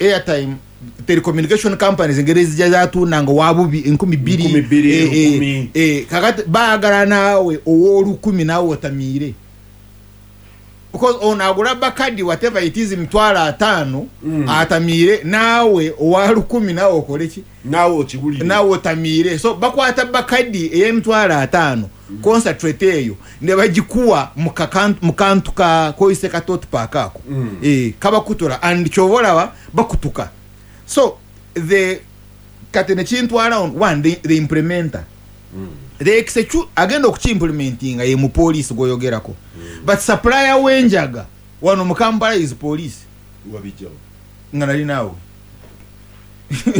Airtime, telecommunication companies engeri ezijja zatunda nga wabubi 2000, 2000, 1000. Kakati baagala naawe ow'olukumi naawe otamiire, because ono agula Bacardi, whatever it is, 50,000, atamiire, naawe owa 1000 naawe okole ki? Naawe okiwulire. Naawe otamiire. So bakwata Bacardi ey'emitwalo 50, concentrate eyo, ne bagikuwa mu kantu ka koyise ka tot pack ako. Kabakutura and kyova olaba bakutuka. So the kati nekintwala on one, the implementer, the agenda okukiimplementinga ye mupoliisi gwoyogerako, but supplier w'enjaga wano mu Kampala is police. Wabijjawo? Nga nali naawe.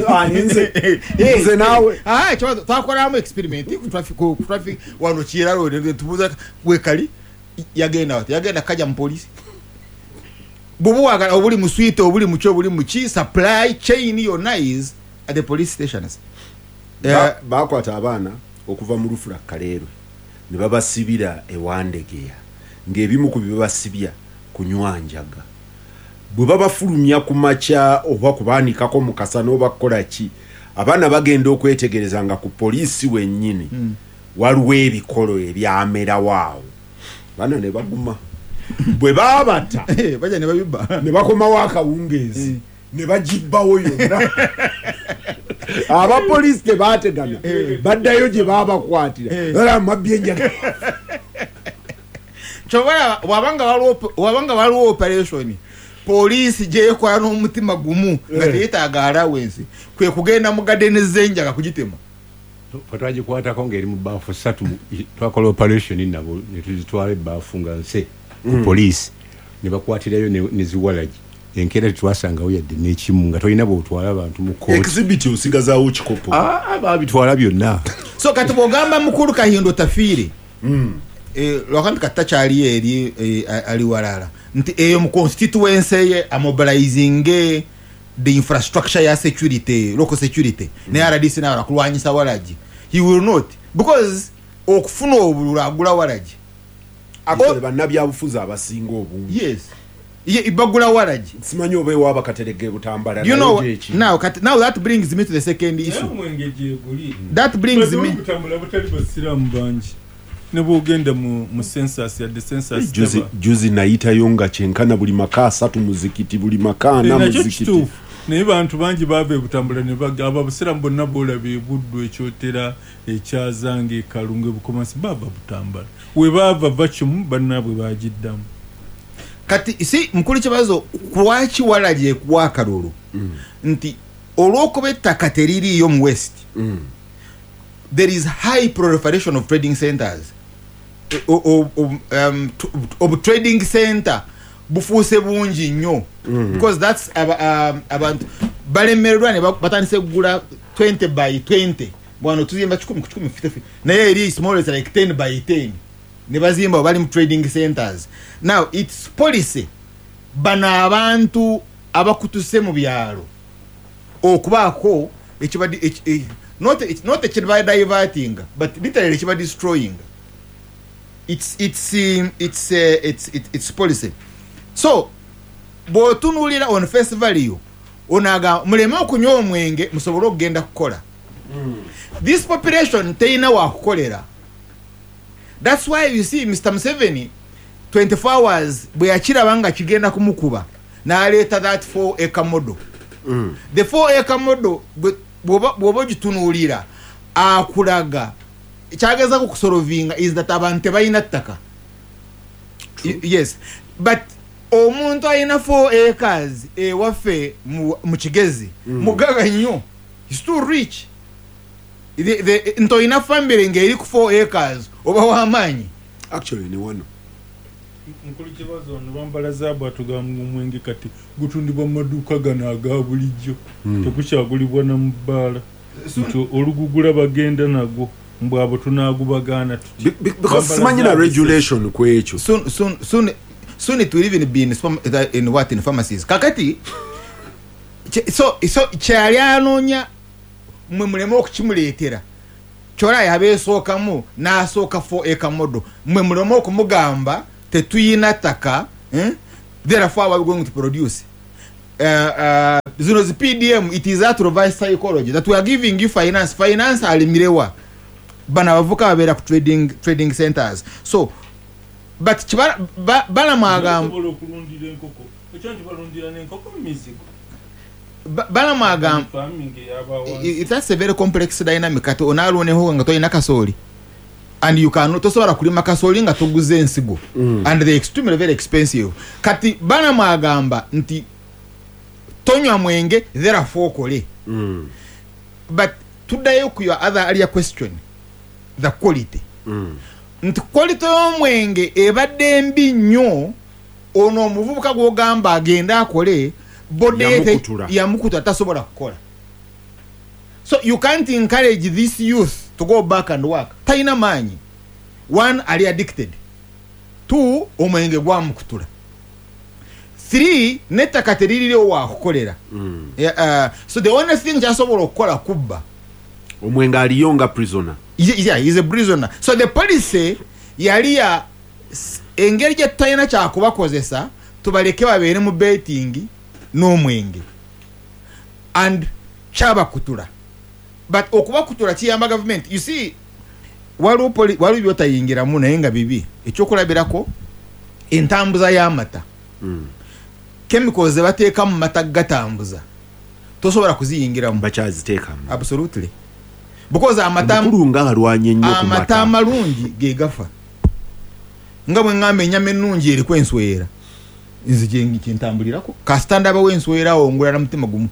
Ah, nze naawe. Ah, ekibazo twakolamu experiment ku traffic wano kiralo, tubuuza wekali yagenda wati, yagenda kajja mu poliisi. Bw'oba obuli mu sweet, obuli muki, obuli muki, supply chain yonna is at the police stations. Bakwata abaana okuva mu Lufula Kaleerwe ne babasibira ewandegeya, ng'ebimu ku bibasibya kunywa njaga. Bwe babafulumya ku makya oba kubaanikako mu kasana oba kukola ki, abaana bagenda okwetegereza nga ku poliisi wennyini waliwo ebikolo ebyamerawo awo. Abaana ne baguma. Bwe baabata, bajja ne babibba. Ne bakomawo akawungeezi ne bagibbawo yonna. Abapoliisi tebategana, baddayo gye babakwatira, era mabbi enjaga. Kyova wabanga waliwo operation poliisi gyekola n'omutima gumu nga teyetaaga allowance, kwe kugenda mu gadeni z'enjaga kugitema. Fe twagikwatako ng'eri mu baafu ssatu. Twakola operation nabo ne tuzitwala ebaafu nga nse ku poliisi, ne bakwatirayo ne ziwalagi. Enkeera tetwasangawo yadde n'ekimu, nga tolina bwotwala abantu mu kooti. Exhibit osigazaawo kikopo. Ah, babitwala byonna. So kati bwogamba mukulu Kahindo Tafiire, lwakanti kati takyaliyo eri, ali walala, nti eyo mu constituency ye amobilizinge the infrastructure ya security, local security ne RDC nawe kulwanyisa walagi, he will not, because okufuna obululu agula walagi. Actually, bannabyabufuzi abasinga obungi. Yes, ye bagula walagi. Simanyi oba ewaaba Katerege Butambala. You know, nayo gyekiri. Now kati, now that brings me to the second issue. Omwenge gyeguli. That brings me Butambula butali basiraamu bangi, ne bwogenda mu census, yadde census Juzi, teba. juzi nayitayo nga kyenkana buli maka 3 muzikiti, buli maka 4 Nakyo muzikiti. kituufu, naye bantu bangi baava ebutambula ne bagamba abasiraamu bonna boolaba ebuddu, ekyotera, ekyazanga, ekalungu, ebukomansi, baava Butambala. We baava vacuum bannaabwe bagiddamu. Kati si mukulu kibazo, lwaki walagi ekuwa akalulu? Nti olw'okuba ettaka teririiyo mu west, there is high proliferation of trading centers. Obu trading center bufuuse bungi nnyo because that's abantu balemererwa ne batandise kugula 20 by 20. Bwano tuzimba 100 ku 100, 50, naye eri small, is like 10 by 10, ne bazimba bali mu trading centers. Now its policy, bano abantu abakutuse mu byalo okubaako not ekiba diverting, but literally ekiba destroying. It's policy. So bw'otunuulira on face value, onaga muleme okunywa omwenge musobole okugenda kukola. This population teyina wakukolera. That's why you see Mr Museveni, 24 hours bwe yakiraba nga kigenda kumukuba, n'aleeta that 4 acre model. The 4 acre model, bw'oba ogitunuulira, akulaga kyagezako kusolvinga is that abantu tebalina ttaka. Yes, but omuntu alina 4 acres ewaffe mu Kigezi mugaga nnyo. Is too rich. Nti olina family ng'eri ku 4 acres, oba w'amaanyi. Actually, ni wano. Mukulu kibazo, ono bambala zaabu atugamba omwenge kati gutundibwa mu maduuka gano aga bulijjo, tegukyagulibwa na mu bbaala, nti olugugula bagenda nagwo mbwabo tunaagubagaana tuti. Because Bambala simanyi na zaabu regulation ku ekyo. Soon, soon, soon, soon it will even be in what, in pharmacies. Kakati so kyali anoonya mwe muleme okukimuleetera, kyola yabeesookamu n'asooka 4 acre model, mwe muleme okumugamba tetuyina ttaka, eh? Therefore, what we going to produce, Zino zi PDM, it is that reverse psychology that we are giving you finance. Finance alimirewa bano abavuka babeera ku trading centers. So but Balamu agamba Osobola okulundira enkoko, ekyo nti balundira n'enkoko mu mizigo. Balamu agamba Farming ey'abawansi. That's a very complex dynamic. Kati onaalwoneho nga tolina kasooli, and you can tosobola kulima kasooli nga toguze ensigo, and they extremely very expensive. Kati Balamu agamba nti tonywa mwenge, therefore okole. But tuddayo ku your other earlier question, the quality, nti quality y'omwenge ebadde mbi nnyo. Ono omuvubuka gw'ogamba agende akole, body Yamukutula. Yamukutula, tasobola kukola. So you can't encourage this youth to go back and work. Talina maanyi. One, ali addicted. Two, omwenge gwamukutula. Three, n'ettaka teririwo wakukolera. Yeah, so the only thing kyasobola okukola kubba. Omwenge aliyo nga prisoner. Yeah, he's a prisoner. So the policy yali ya engeri gye tutalina kyakubakozesa, tubaleke babeere mu betting n'omwenge, and kyabakutula. But okubakutula kiyamba government. You see, waliwo byotayingiramu naye nga bibi. Ekyokulabirako, entambuza y'amata, chemicals ze bateeka mu mata gatambuza, tosobola kuziyingiramu. Bakyaziteekamu? Absolutely, because amata Omukulu nga alwanye nnyo ku amata mata. amalungi ge gafa. Nga bwe ŋŋamba, ennyama ennungi eriko enswera. Nze kyentambulirako, kasita ndabawo enswera awo ngula na mutima gumu.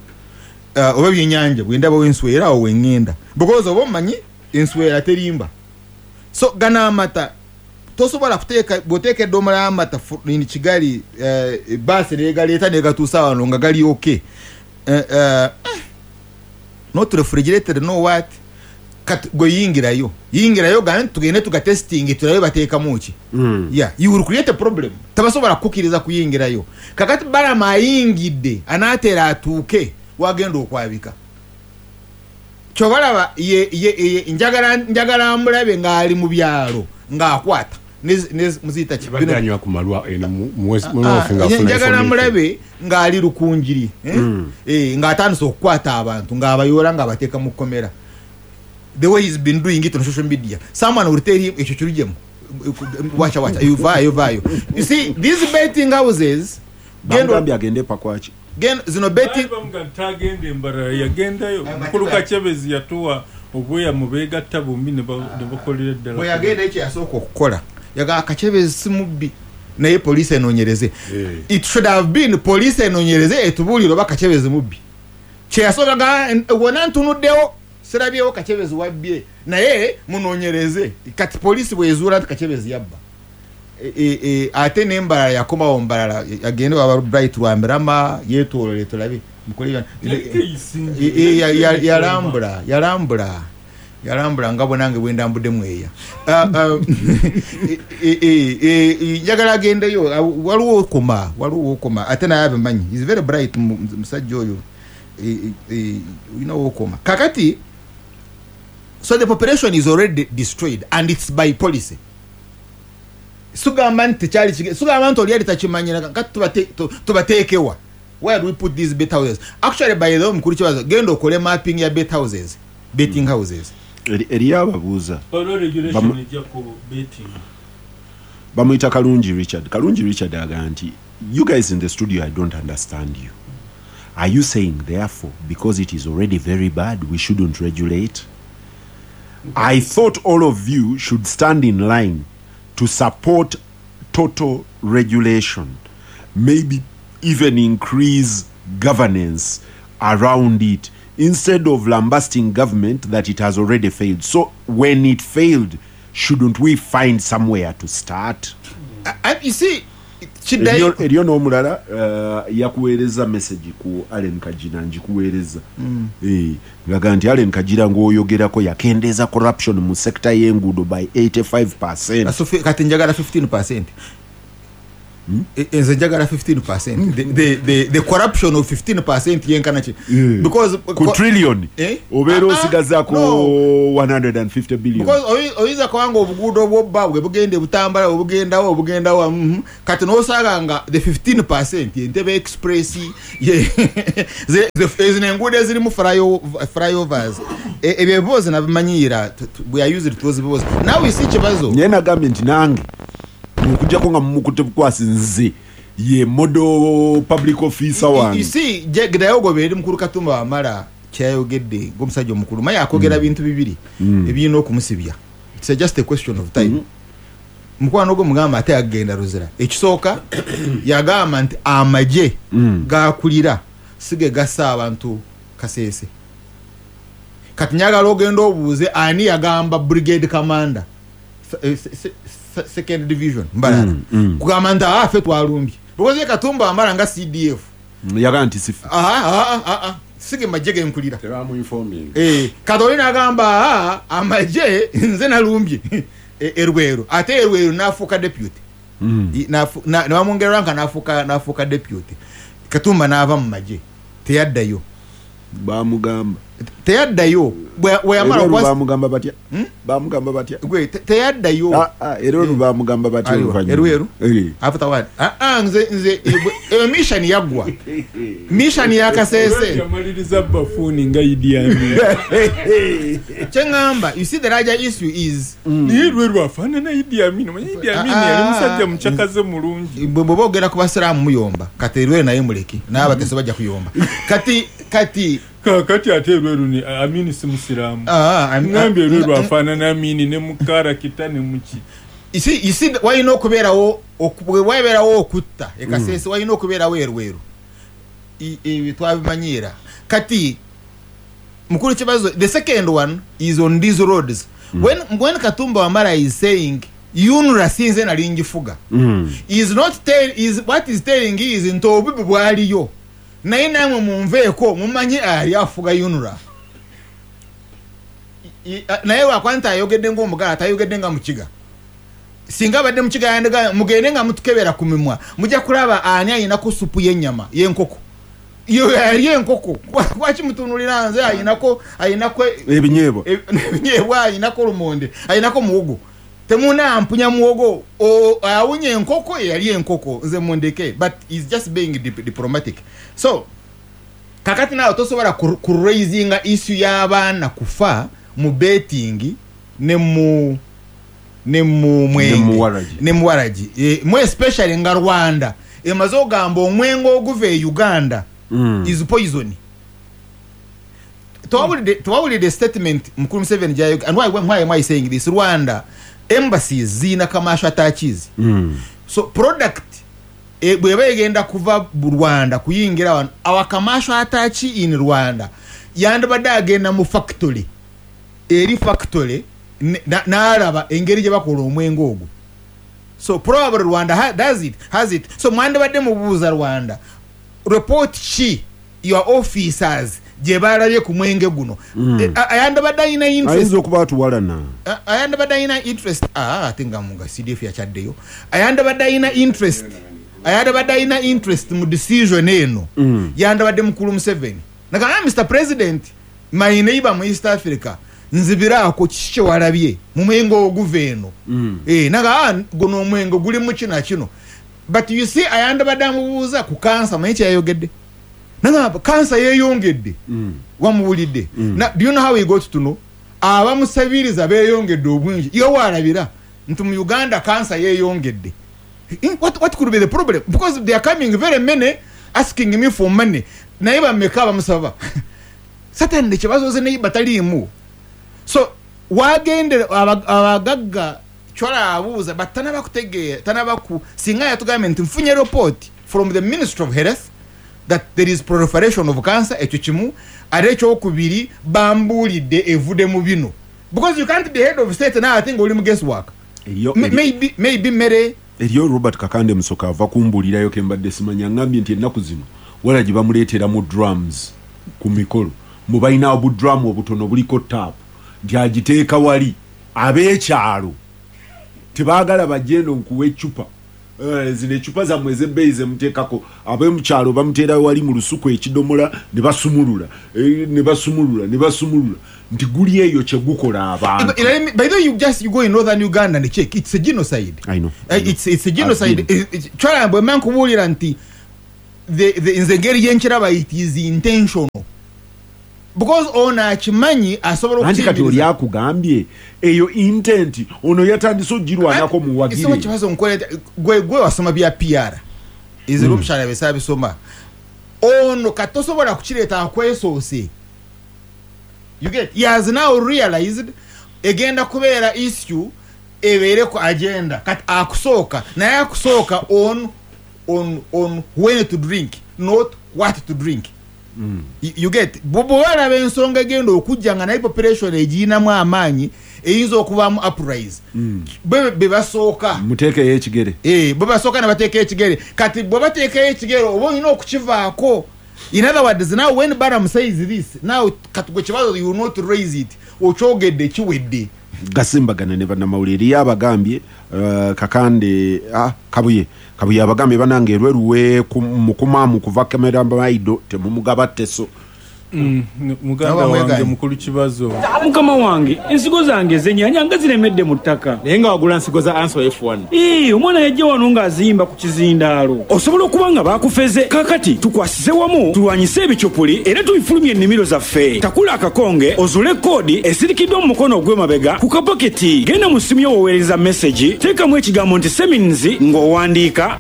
Oba byenyanja, bwe ndabawo enswera awo weŋŋenda, because oba omanyi enswera terimba. So gano amata tosobola kuteeka, bw'oteeka eddomola y'amata in Kigali, baasi negaleeta negatuusa wano nga gali okay, not refrigerated, no what. Kati gwe yingirayo, yingirayo, gambe nti tugende tugatesting tulabe bateekamu ki. Yeah, you will create a problem. Tabasobola kukkiriza kuyingirayo. Kakati Balama ayingidde, anaatera atuuke wagenda okwabika. Kyobalaba ye, njagala mulabe ng'ali mu byalo ng'akwata muziyita ki? Badde anywa ku malwa eno mu North nga afuna Njagala information. mulabe ng'ali Lukunjiri, eh? Eh, ng'atandise okukwata abantu ng'abayoola ng'abateeka mu kkomera, the way he's been doing it on social media. Someone will tell him, ekyo kirujemu, wacha wacha, vaayo vaayo. You see these betting houses, Bamugambye agende pakwaki. Zino betting Baali bamugamba nti tagenda embalala, yagendayo. Mukulu Kakyebezi yatuwa obweyamu, beegatta bombi ne bakolera ddala. Bwe yagenda, ekyo yasooka okukola, yagamba Kakyebezi si mubbi, naye poliisi enoonyereze. It should have been poliisi enoonyereze etubuulire oba Kakyebezi mubbi. Kyeyasooka ga wona ntunuddewo sirabyewo Kakyebezi wabbye, naye munoonyereze. Kati poliisi bwezuula nti Kakyebezi yabba, ate nembalala yakomawo mbalala, agende waba Bright Rwamirama yetoolole tulabe mukole Yali teyisinze. Yalambula, yalambula, yalambula nga bwe nange bwe ndambudde mweya. Ah, ah, njagala agendeyo. Ah, waliwo okoma, waliwo okoma, ate naye abimanyi. Is very bright, musajja oyo. Olina wokoma. Kakati so the population is already destroyed, and it's by policy. Sugamba nti tekyali sugamba nti oli yali takimanyira. Kati tubateekewa? Where do we put these bet houses? Actually, by the way, mukulu kibazo, genda okole mapping ya bet houses, betting houses. Eriyo ababuuza. Waliwo regulation ejja ku betting. Bamuyita Kalungi Richard. Kalungi Richard agamba nti, "You guys in the studio, I don't understand you. Are you saying therefore because it is already very bad, we shouldn't regulate? I thought all of you should stand in line to support total regulation, maybe even increase governance around it, instead of lambasting government that it has already failed. So when it failed, shouldn't we find somewhere to start?" You see, kiddayo Eriyo n'omulala yakuweereza message ku Allen Kajira, njikuweereza. Ngaga nti Allen Kajira ng'oyogerako yakendeeza corruption mu sector y'enguudo by 85. Kati njagala 15. Nze njagala 15%. The corruption of 15% yenkana ki? Because ku trillion Eh? obeera Ah, ah, osigazaako no. 150 billion. Because oyinza kubanga obuguudo bwobba bwe bugenda ebutambala, obugendawo obugendawo, kati nosanga nga the 15% Entebbe Express, zino enguudo ezirimu flyovers. Ebyo ebibuuzo nabimanyiira, we are used to those bibuuzo. Now we see kibazo. Naye nagambye nti nange okujjako nga mumukutte bukwasi, nze ye model public officer You wange. see, gdayo ogoberera eri mukulu Katumba Wamala kyayogedde ng'omusajja omukulu, maye akwogera bintu bibiri ebirina okumusibya. It's just a question of time. Mukwano gwe mugamba ate agenda Luzira. Ekisooka, yagamba nti amagye gakulira si ge gassa abantu Kaseese. Kati njagala ogenda obuuze ani yagamba brigade commander second division Mbarara kugamba nti ffe twalumbye, because ye Katumba Wamala nga CDF Yagamba nti sifa. Aha, sige majje genkulira. Tebamuinforming. Kati oli nagamba, amagye nze nalumbye Erweru, ate Erweru nafuuka deputy. Nebamwongera ranka, nafuuka deputy. Katumba n'ava mu magye, teyaddayo. Bamugamba Teyaddayo. Bwe yamala Era okuba bamugamba batya? Bamugamba batya? Gwe, teyaddayo. Ah, ah, era olwo bamugamba batya? Aliwa? Oluvannyuma? Erweru? Eh. After what? Nze eyo mission yaggwa, mission ya Kasese. Yamaliriza bafuuni nga Idi Amin. Kyeŋŋamba, you see, the larger issue is Naye Lweru afaanana Idi Amin. Omanyi Idi Amin Ah, yali ah, musajja mukyakaze mulungi. Bwe boogera ku basiraamu muyomba, kati Erweru naye muleke n'abateso bajja kuyomba kati. Kakati ate Erweru ni Amini si musiraamu. Ah, Ngambye Erweru afaanana Amini ne mukarakita ne muki. You see, walina okubeerawo bwe wabeerawo okutta ekasese, walina okubeerawo Erweru. Ebyo twabimanyiira. Kati mukulu kibazo, the second one is on these roads. When Katumba Wamala is saying UNRA sinze nali ngifuga, is not tell, is what is telling is nti obubi bwaliyo, naye namwe munveeko mumanye ali afuga UNRA. Naye lwakuba nti ayogedde ngaomugala, tayogedde nga mukiga. Singa abadde mukiga yandiga mugende nga mutukebera ku mimwa, mujja kulaba ani ayinako supu y'ennyama y'enkoko. Yo yali enkoko, lwaki mutunulira nze? Ayinako ebinyeebwa. Ebinyeebwa, ayinako lumonde, ayinako muwogo. Temunampunya muwogo, awunya enkoko, eyali enkoko, nze mundeke. But is just being diplomatic. So kakati naawe tosobola kuraisinga issue y'abaana kufa mu betting ne mu Ne mu mwenge waragi. Ne mu waragi. Mu especially nga Rwanda emaze ogamba omwenge oguva e Uganda is poison. Tewawulidde statement mukulu Museveni gyayo? And why am I saying this? Rwanda embassies ziyina commercial attaches. So product bweba egenda kuva mu Rwanda kuyingira wano, our commercial attache in Rwanda yandibadde agenda mu factory, eri factory n'alaba engeri gye bakola omwenge ogwo. So probably Rwanda does it, has it. So mwandibadde mubuuza Rwanda, report ki your officers gye balabye ku mwenge guno? Ayandibadde alina interest. Ayinza okuba atuwalana. Ayandibadde alina interest. Ate nga munga CDF yakyaddeyo. Ayandibadde alina interest, ayandibadde alina interest mu decision eno. Yandibadde mukulu Museveni nagamba, "Mr President, my neighbor mu East Africa, nzibiraako, kiki kyewalabye mu mwenge oguva eno?" Naga, guno omwenge gulimu kino kino." But you see, ayandibadde amubuuza ku kansa. Manyi kyeyayogedde? Nagamba kansa yeeyongedde. Wamuwulidde? Do you know how he got to know? Abamusabiriza beeyongedde obungi. Iyo walabira nti mu Uganda kansa yeeyongedde. What could be the problem? Because they are coming very many asking me for money. Naye bameka bamusaba? Certainly kibazo naye bataliimu. So wagendera abagagga kyola abuuza, but tanaba kutegeera, tanaba ku singa yatugambye nti nfunye report from the Ministry of Health that there is proliferation of cancer, ekyo kimu. Ate ekyokubiri, bambuulidde evudde mu bino, because you can't be head of state naye ate nga oli mu guesswork. Maybe mere. Eriyo Robert Kakande Musoka ava kumbuulirayo ke mbadde simanya. Ngambye nti ennaku zino wala gye bamuleetera mu drums ku mikolo, mu balina obudrum obutono buliko taapu, nti agiteeka wali. Ab'ekyalo tebaagala bajje eno nkuwa eccupa. Zino ecupa zammwe ez'ebbeeyi zemuteekako, ab'emukyalo bamuteera wali mu lusuku ekidomola ne basumulula, ne basumulula, ne basumulula, nti guli eyo kye gukola abantu. By the way, you go in northern Uganda and check, it's a genocide. I know. It's a genocide. Twala bwe mankubuulira nti nze engeri gyenkiraba, it is intentional, because ono akimanyi asobola Anti kati okukiyimiriza. Oli akugambye eyo intent, ono yatandise ogirwanako muwagire. Isoma kibazo nkoleta gwe wasoma bya PR ezero omukyala besabisoma ono katosobola kukireeta akwesoose. You get, he has now realized egenda kubeera issue ebeere ku agenda. Kati akusooka naye akusooka on when to drink, not what to drink. You get, bw'olaba ensonga egenda okujja nga naye population egiyinamu amaanyi eyinza okuvaamu uprise, be basooka. Muteekeyo ekigere. Bwe basooka ne bateekayo ekigere. Kati bwe bateekayo ekigere oba olina okukivaako. In other words, now when Balaam says this, now kati gwe kibazo, you will not raise it, okyogedde kiwedde. Gasimbagana ne bannamawulire, eriyo abagambye, Kakande, Kabuye abagambye banange erweruwe mukumaamu kuva Kamera Maido temumugaba teso. Muganda Nawe wange mweganye. Mukulu Kibazo. Mukama wange, ensigo zange ez'ennyaanya nga ziremedde mu ttaka. Naye nga wagula nsigo za Anso F1. Ii, omwana yajja wano ng'azimba ku kizindaalo. Osobola okuba nga baakufeze. Kaakati tukwasize wamu tulwanyise ebicupuli era tubifulumye ennimiro zaffe. Takula akakonge ozuule koodi esirikiddwa mu mukono ogw'emabega ku kapaketi. Genda mu ssimu yo w'oweereza message, teekamu ekigambo nti Semins ng'owandiika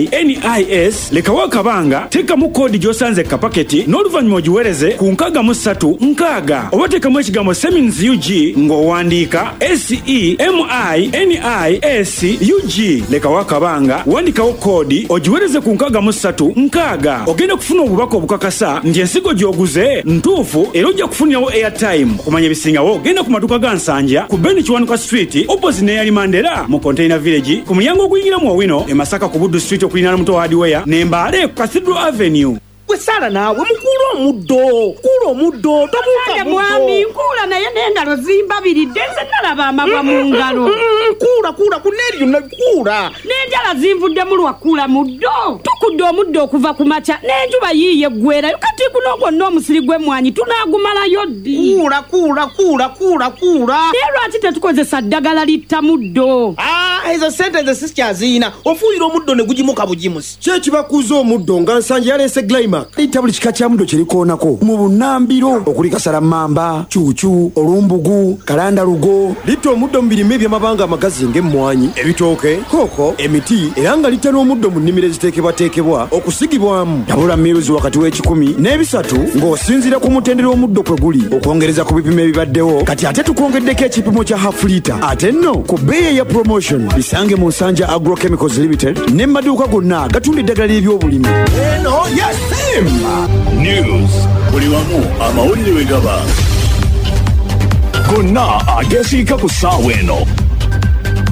SEMINIS, lekawo akabanga, teekamu koodi gy'osanze ku kapaketi n'oluvannyuma ogiweereze ku 63 60, oba teekamu ekigambo Semins UG ng'owandiika SEMINIS UG, lekawo akabanga, wandikawo koodi ogiweereze ku 63 60. Ogenda kufuna obubaka obukakasa nti ensigo gy'oguze ntuufu era ojja kufunirawo airtime. Okumanya ebisingawo genda ku maduuka ga Nsanja ku Ben Kiwanuka Street opposite n'eyali Mandela mu Container Village, ku mulyango oguyingira mu Owino e Masaka ku Buddu Street okuliraana Muto Hardware ne Mbale ku Cathedral Avenue. Gwe Saala, naawe mukuula omuddo, kuula omuddo, tobuuka. Kale mwami, nkuula naye n'engalo zimbabiridde, nze nalaba amabwa mu ngalo. Kuula, kuula kuneeri yonna, kuula. N'enjala zinvuddemu lwa kuula muddo. Tukudde omuddo okuva ku makya n'enjuba yiiye eggwerayo. Kati guno gwonna omusiri gw'emmwanyi tunaagumalayo ddi? Kuula, kuula, kuula, kuula, kuula. Naye lwaki tetukozesa ddagala litta muddo? Ah, ezo sente nze sikyaziyina. Ofuuyira omuddo ne gugimuka bugimusi. Ki ekibakuuza omuddo nga Nsanja yaleese Glimac? Litta buli kika kya muddo kye likoonako mu bunnambiro okuli kasalammamba, cuucu, olumbugu, kalandalugo. Litta omuddo mu birime eby'amabanga amagazi ng'emmwanyi, ebitooke, kooko, emiti, era nga litta n'omuddo mu nnimiro eziteekebwateekebwa okusigibwamu. Tabula miruzi wakati w'ekikumi n'ebisatu ng'osinziira ku mutendera omuddo kwe guli okwongereza ku bipimo ebibaddewo. Kati ate tukwongeddeko ekipimo kya half litre, ate nno ku bbeeyi eya promotion. Bisange mu Nsanja Agrochemicals Limited ne mu maduuka gonna gatunda eddagala ly'ebyobulimi. Eno yasimba. News buli wamu, amawulire we gaba gonna agesiika ku ssaawa eno.